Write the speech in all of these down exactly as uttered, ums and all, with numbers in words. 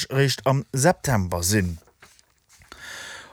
eréischt am September sinn.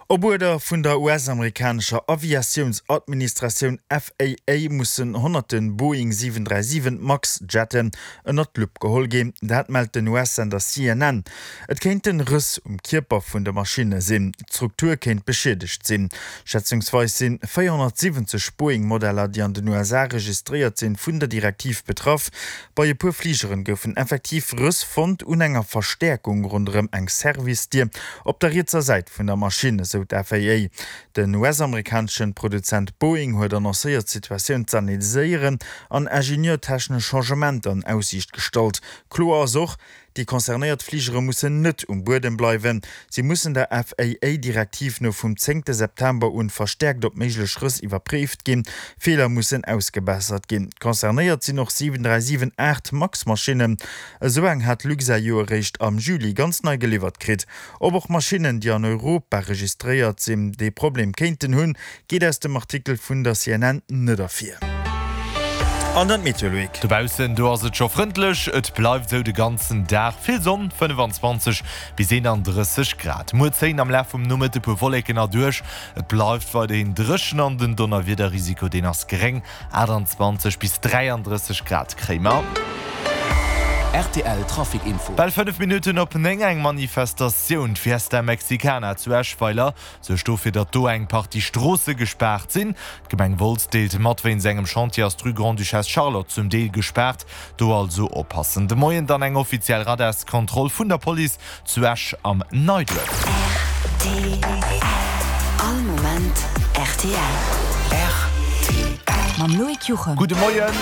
Op Uerder vun der U S-amerikanescher Aviatiounsadministratioun F A A mussen honnerte Boeing siwen dräi siwen Max Jetten ënnert d'Lupp geholl ginn, dat mellt den U S-Sender C N N. Et kéinten Rëss um Kierper vun de Maschinne sinn. D'Struktur kéint beschiedegt sinn. Schätzungsweis sinn véierhonnertsiwwenzeg Boeing-Modeller, déi an den U S A registréiert sinn, vun der Direktiv betraff. Bei e puer Fligeren goufen effektiv Rëss fonnt un enger Verstäerkung ronderëm eng Service-Dier op der rietser Säit vun der Maschinn, esou d'F A A. Den U S-amerikanesche Produzent Boeing huet annoncéiert, d'Situatioun z'analyséieren an ingenieurtechnesch Changementer an Aussiicht gestallt. Kloer ass och, déi concernéiert Fligere mussen net um Buedem bleiwen. Si mussen der F A A-Direktiv no vum zéngte September un verstäerkt op méiglech Rëss iwwerpréift ginn. Feeler mussen ausgebessert ginn. Concernéiert sinn och siwen dräi siwen aacht Max-Maschinnen. Esou eng hat Luxair jo eréischt am Juli ganz nei geliwwert kritt. Ob och Maschinnen, déi an Europa registréiert sinn, dee Problem kéinten hunn, geet aus dem Artikel vun der C N N net ervir. An dann d'Meteo, Loïc. Dobaussen, do ass et scho frëndlech, et bleift sou de ganzen Dag. Vill Sonn, fënnefenzwanzeg bis eenandrësseg Grad. Muer zéien am Laf vum Nomëtte puer Wolleken erduerch. Et bleift weiderhin dréchen an den Donnerwiederrisiko, deen ass geréng. achtenzwanzeg bis dräiandrësseg Grad kréie mer. R T L Trafic Info. Bal fënnef Minutten op néng. Eng Manifestatioun, d'Fiesta Mexicana zu Eschweiler, suergt dofir, datt do eng Partie Stroosse gespaart sinn. D'Gemeng Wolz deelt mat, wéinst engem Chantier ass d'Rue Grande-Duchesse Charlotte zum Deel gespaart. Do also oppassen. De Moien dann eng offiziell Radarskontroll vun der Police zu Esch am Neiduerf. R T L. All Moment R T L. R T L. Mam Loïc Juchem. Gudde Moien.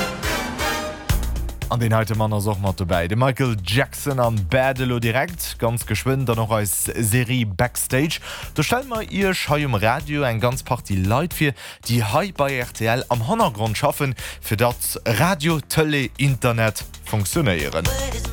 An deen heite Mann ass och mat dobäi, de Michael Jackson an Bad. Elo direkt ganz geschwënn dann och eis Serie Backstage. Do stelle mer iech hei um Radio eng ganz Partie Leit vir, déi hei bei R T L am Hannergrond schaffen, fir datt Radio, Tëlee, Internet funktionéieren.